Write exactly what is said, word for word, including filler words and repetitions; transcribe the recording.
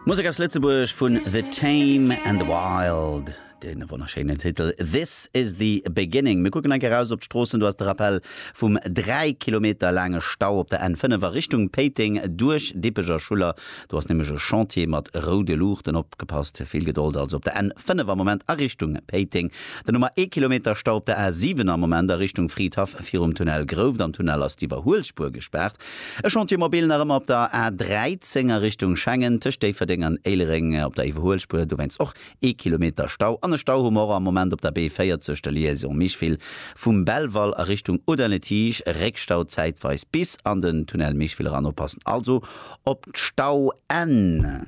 Musek aus Lëtzebuerg vun The Tame and the Wild. Den wonnerschéinen Titel This is the Beginning. Mir kucken eng Kéier raus op d'Stroossen, do ass de Rappel vum dräi Kilometer laange Stau op der N fënnef a Richtung Péiteng duerch Dippech a Schuller. Do ass nämlech e Chantier mat roude Luuchten. Opgepasst, vill Gedold also op der N fënnef am Moment a Richtung Péiteng. Dann hu mer ee Kilometer Stau op der A siwen am Moment a Richtung Fridhaff virum Tunnel Grouft. Am Tunnel ass d'Iwwerhuelspuer gespaart. E Chantier mobile nach ëmmer op der A dräizéng a Richtung Schengen tëscht Déifferdeng an Éilereng op der Iwwerhuelspuer, dowéinst och ee Kilometer Stau. An e Stau hu mer och am Moment op der B véierzeg, der Liaison Micheville vum Belval a Richtung Audun-le-Tiche, Réckstau zäitweis bis an den Tunnel Micheville eran. Oppassen also op d'Stauen.